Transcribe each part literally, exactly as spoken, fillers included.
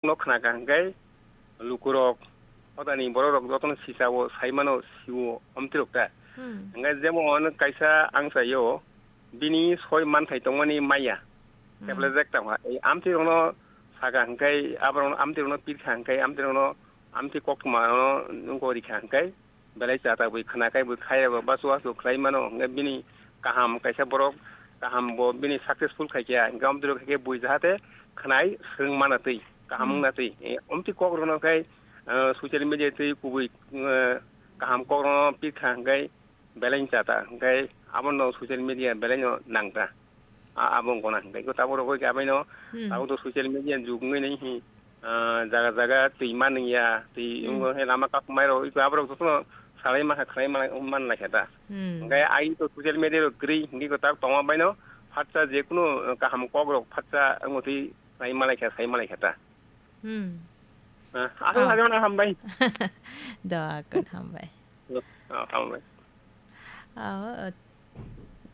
no khna ka hwnkhe lukurok, hodani bororok jotono sisao, saimano, siwo, omtirok ta. Hmm. Hwnkhe jemon kaisa ang saio, bini soi manthai tongmani maya, Hmm. kebla jek tongkha. Ei amtirokno saka hwnkhe, aborokno amtirokno pirkha hwnkhe, amtirokno amti koktwmano nungko rikha hwnkhe, belai chata bui khna khai bui khai rw basu asu khlai mano, hwnkhe bini kaham kaisa borok kaham bo bini successful khai khe, hwnkhe amtwrwk khai khe bui jahate khnai swrwng mana twi, kaham Hmm. wngna twi. Eh, omtwi kok rwno khai, eh, social media twi kubui, eh, kaham kok rwno pikha hwnkhe belai chata, hwnkhe abono social media belai no nangta. A-, abo wngkha na hwnkhe iko tabuk rok iko abaino Hmm. tabuk to social media ni jug wngwi nai hi, ah, jaga jaga twi manwi ya, twi Hmm. wngwi hai lama kak mai rok iko aborok jotono salai mankha, khlai man, man lai kha ta. Hmm. Hwnkhe ai to social media rok kwrwi hwnkhe iko tabuk tongma baino phatsa je kunu kaham kok rok phatsa wngwi twi sai malai kha, sai malai kha ta. Hmm. Ah, aswk Oh. Hajano hambai. Doa kun hambai. Oh, hambai. Ah,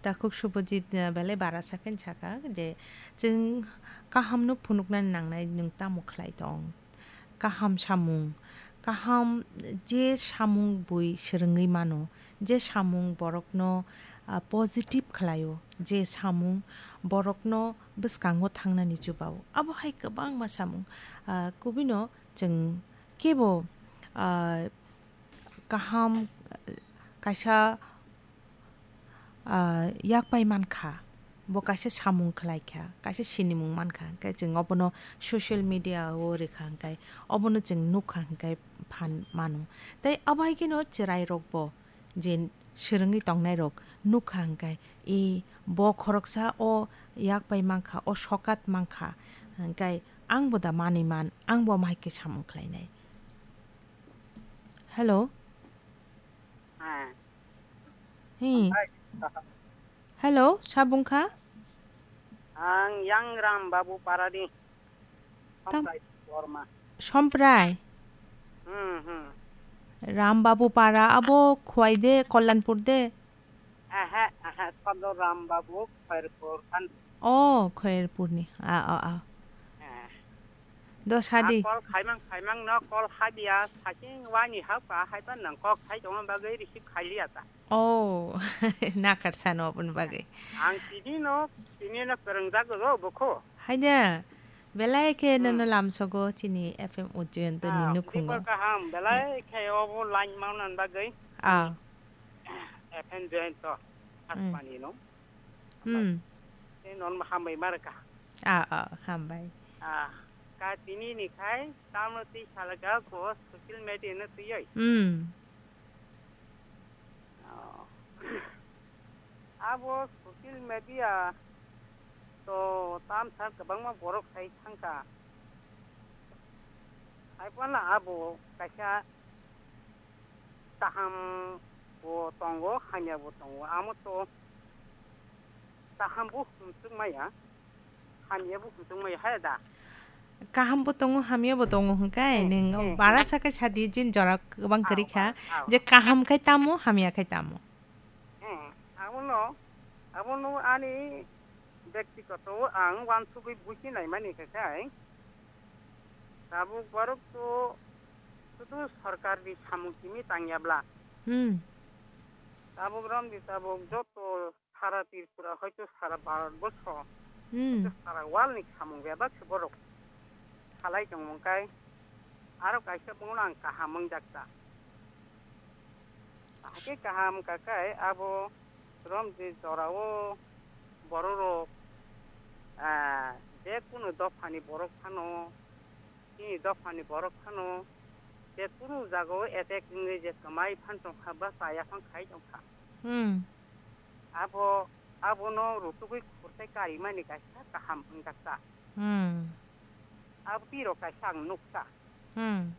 Takhuk Subhajit, eh, belai bara sakhen saka je chwng kahamno phunuknani nangnai nwng tamo khlai tong. Kaham samung, kaham je samung bui swrwngwi mano, je samung borokno, ah, positive khlaio, je samung borokno bwskango thangnani chubao. Abo hai kwbangma samung, ah, kubino chwng kebo, ah, kaham, ah, kaisa ah, yak pai man kha, bo kaisa samung khlai kha, kaisa sinimung man kha, hwnkhe chwng obono social media o rwkha, hwnkhe obono chwng nuk kha, hwnkhe phan mano. Tei abo hai kheno chwrai rok bo je swrwngwi tongnai rok nuk kha, hwnkhe, "E, bo khoroksa o yak pai man kha, o sokat man kha, hwnkhe ang bo da manwi man, ang bo omo hai khe samung khlainai." Hello? Heh. Hi. Hai. Hello, sa bung kha? Ang Yang Ram Babu Parani. Tam- Samprai Borma. Samprai? Hmm, hmm. Ram Babu Para abo Khowai de, Kalyanpur de? Aha, aha, Sadar Ram Babu, Khairpur kan. Oh, Khairpurni. Ah, ah, ah. Eh. Do sadi. Call khaimang, khaimang no call khabiya, saking wani hapka, haiba nang kok khai tongma bagwi receive khailiya ta. Oh, nakar sano aboni bagwi. Ang tini no, tini no kwrwngjak go bokho. Haida, belai khe Hmm. nono lamsogo chini F M Ujjayan to Ah, ni nukhungo. Khibor kaham, belai khe obo line maunan bagwi. Ah. F M Jayanta Hmm. Akbani no. Hmm. Tei non hambai marka. Ah, ah, hambai. Ah, ka tini ni khai, tamo twi salaka ko social media no twi oi. Hmm. Oh. Abo social media to tam sa kwbangma borok sai thangka. Hai phano abo kaisa kaham bo tongo, hamya bo tongo. Amo to kaham bo himsuk maya, hamya bo himsuk maya, hai da? Kaham bo tongo, hamya bo tongo hwnkhe, hmm, nwng hmm, bara hmm. Sa khe sadi jin jora kwbang kwrwi kha, ah, ah. Je kaham khai tamo, hamya khai tamo. Hmm, abono, abono ani Byaktigoto ang uansugwi buchi naimani khe khai, tabuk borok to sudu sorkar ni samung simi tangya bla. Hmm. Tabuk romdi tabuk joto sara Tripura hoito sara Bharat borsho, hmm, hoito sara world ni samung bebak se borok salai tongmung kai. Aro kaisa bungno ang kaham wngjak ta. Hakhe kaham wngkha khe abo rom je jorao bororok, ah, je kunu dophani borok phano, chini dophani borok phano, je kunu jagao attack wngwi je kwmai phan tongkha ba chaya phan khai tongkha. Hmm. Abo, abono rutugwi khurtai karimani kaisa kaham wngjaksa. Hmm. Abo tirok kaisa ang nuksa. Hmm.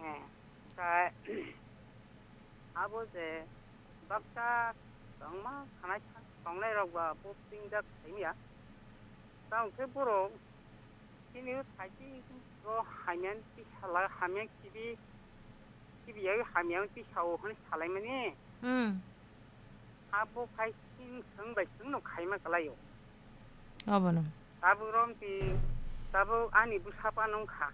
Eh, ta, abo je baksa tongma khanai tongnai rok ba bo tingjak saimya. Tamo khe borok chini o saiki o hamya tisa la, hamya kibi, kibi yawi hamya tisa o hwnwi salaimani. Hmm. Abo khai sing swng bai swng no khaima kwlaio. Obono. Tabuk romti Tabuk ani bwsa phano wngkha.